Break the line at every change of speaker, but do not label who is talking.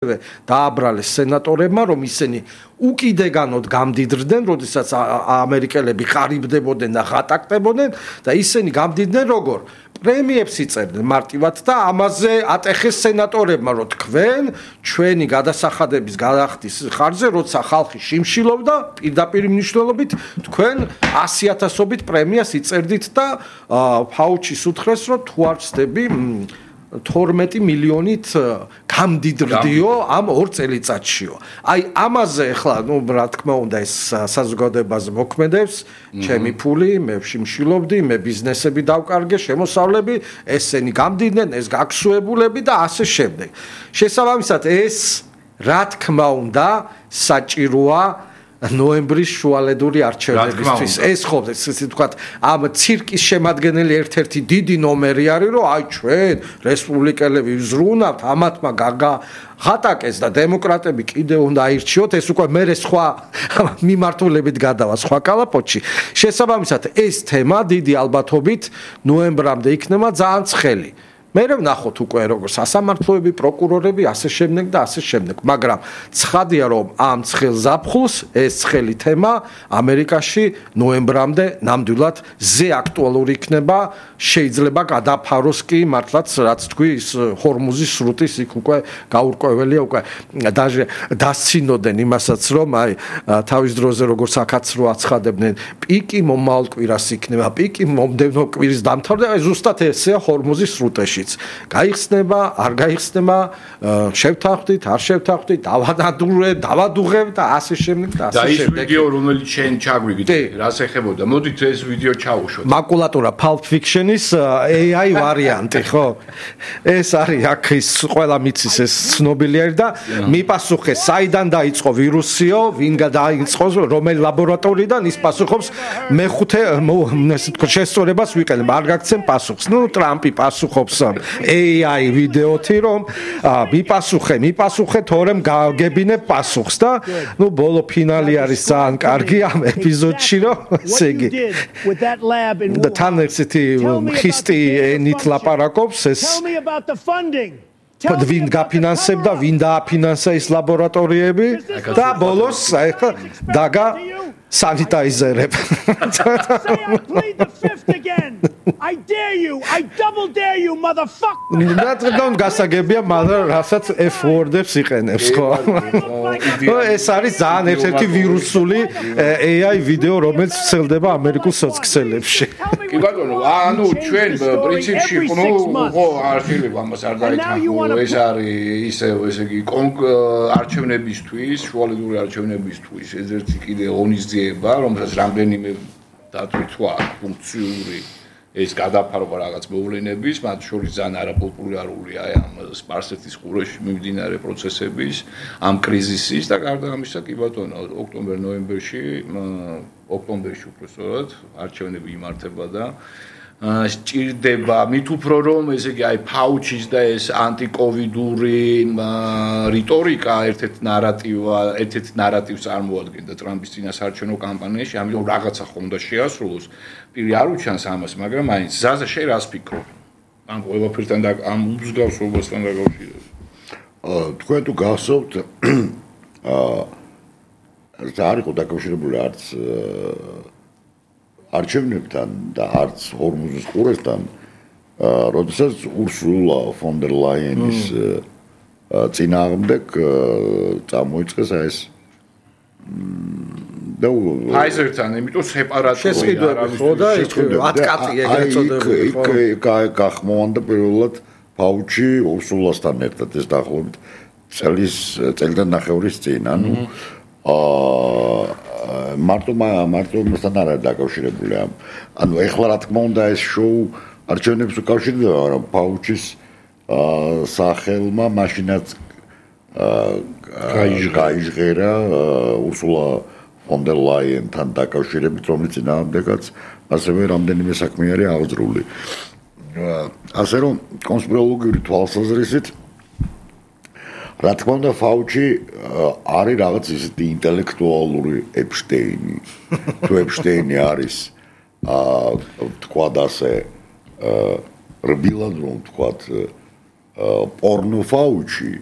დააბრალეს სენატორებმა, რომ ისინი უკიდეგანოდ გამდიდრდნენ, როდესაც ამერიკელები ხარიბდებოდნენ და ღატაკდებოდნენ და ისინი გამდიდნენ როგორ? პრემიებს იწერდნენ მარტივად და ამაზე ატეხეს სენატორებმა, რომ თქვენ ჩვენი გადასახადების გადახდის ხარჯზე, როცა ხალხი შიმშილობდა, პირდაპირ მნიშვნელობით თქვენ 100,000-ობით პრემიას იწერდით და ფაუჩის უთხრეს, რომ თუ არ ვცდები 12 მილიონით გამდიდრდიო ამ 2 წელიწადშიო. აი ამაზე ახლა, რა თქმა უნდა, ეს საზოგადოებაზე მოქმედებს, ჩემი ფული, მე ვშიმშილობდი, მე ბიზნესები დავკარგე, შემოსავლები, ესენი გამდიდნენ, ეს გაქსუებულები და ასე შემდეგ. შესაბამისად, ეს რა თქმა უნდა, საჭიროა ნოემბრის შუალედური არჩევნებისთვის. ეს ხო, ესე ვთქვათ, ამ ცირკის შემადგენელი ერთ-ერთი დიდი ნომერი არის, რომ აი ჩვენ რესპუბლიკელები ვზრუნავთ, ამათმა გაგახატაკეს და დემოკრატები კიდევ უნდა აირჩიოთ, ეს უკვე მერე სხვა მიმართულებით გადავა სხვა კალაპოტში. შესაბამისად, ეს თემა დიდი ალბათობით ნოემბრამდე იქნება ძალიან ცხელი. მე ვნახოთ უკვე როგორ სასამართლოები, პროკურორები, ასე შემდეგ და ასე შემდეგ. მაგრამ ცხადია, რომ ამ ცხელ ზაფხულს ეს ცხელი თემა ამერიკაში ნოემბრამდე ნამდვილად ზე აქტუალური იქნება, შეიძლება გადაფაროს კი მართლაც რაც თქვი ის ჰორმუზის სრუტის იქ უკვე გაურკვეველია უკვე დასცინოდნენ იმასაც, რომ აი თავის დროზე როგორც აკაცრო აცხადებდნენ, პიკი მომავალ კვირას იქნება, პიკი მომდევნო კვირის დამთავრდა, აი ზუსტად ესეა ჰორმუზის სრუტეში. გაიხსნება, არ გაიხსნება, შევთანხმდით, არ შევთანხმდით, დავადუღებ და ასე შემდეგ და ასე შემდეგ.
და ის ვიდეო, რომელიც შენ ჩაგვიგდე, რას ეხებოდა? მოდით ეს ვიდეო ჩაუშვოთ.
მაკულატურა Pulp Fiction-ის AI ვარიანტი, ხო? ეს არის აქ ის ყველა მიცის ეს ცნობილი არის და მიპასუხე, საიდან დაიწყო ვირუსიო, ვინ გადაიწყო, რომელი ლაბორატორიიდან ის პასუხობს მეხუთე ესე თქო შესწორებას ვიყენებ, არ გაგცემ პასუხს. ნუ ტრამპი პასუხობს AI ვიდეოთი, რომ მიპასუხე, თორემ გავგებინებ პასუხს და ნუ ბოლო ფინალი არის ძალიან კარგი ამ ეპიზოდში, რომ ესე იგი და თან ესეთი ხისტი ენით ლაპარაკობს ეს ვინ გაფინანსებდა, ვინ დააფინანსა ის ლაბორატორიები და ბოლოს ახლა დაგა sanitizer.
I dare you, I double dare you, motherfucker.
ნატგან გასაგებია, მაგრამ რასაც F-word-ებს იყენებს, ხო? ეს არის ძალიან ერთ-ერთი ვირუსული AI ვიდეო, რომელიც ვრცელდება ამერიკულ სოციალებში.
კი ბატონო, ანუ ჩვენ პრინციპში ხო არ შეიძლება ამას არ დაითანხმო, ეს არის ისე ესე იგი არჩევნებისთვის, შუალედური არჩევნებისთვის, ერთ-ერთი კიდე ღონისძიება, რომელსაც რამდენიმე დათვითვა ფუნქციური ეს გადაფარვა რაღაც მოვლენების, მათ შორის ძალიან არაპოპულარულია ამ სპარსეთის ყურეში მიმდინარე პროცესების, ამ კრიზისის და გარდა ამისა, კი ბატონო, ოქტომბერ-ნოემბერში უბრალოდ არჩევნები იმართება და სჭირდება მით უფრო რომ ესე იგი აი ფაუჩის და ეს ანტიკოვიდური რიტორიკა ერთ-ერთ ნარატივს წარმოადგენდა ტრამპის წინასაარჩევნო კამპანიაში, ამიტომ რაღაცა ხომ უნდა შეასრულოს. პირი არ უჩანს ამას, მაგრამ მაინც ზაზა შენ რას ფიქრობ? ამ ყველაფერთან და ამ მსგავსობასთან დაკავშირებით.
თქვენ თუ გახსოვთ არ იყო დაკავშირებული არც არჩევნებთან და არც ჰორმუზის ყურესთან, როდესაც ურსულა ფონ დერ ლაიენის წინააღმდეგ წამოიწყეს ეს და
ფაიზერთან, იმიტომ სეპარატული
არის ხო და 10 კატი ეგრეთ წოდებული ხო?
იქ გახმოვანდა პირველად ფაუჩი ურსულასთან ერთად ეს დაახლოებით წელიდან ნახევრის წინ, ანუ მარტო მასთან არ არის დაკავშირებული ამ. ანუ ეხლა რა თქმა უნდა ეს შოუ არჩევნებს უკავშირდება, მაგრამ ფაუჩის სახელმა მაშინაც გაიჟღერა ურსულა ფონ დერ ლაიენთან დაკავშირებით, რომელიც წინააღმდეგაც ასევე რამდენიმე საქმე არის აღძრული. ასე რომ კონსპიროლოგიური თვალსაზრისით რა თქმა უნდა ფაუჩი არის რაღაც ისეთი ინტელექტუალური ეპშტეინი. თუ ეპშტეინი არის თქვათ ასე რბილად რომ თქვათ პორნო ფაუჩი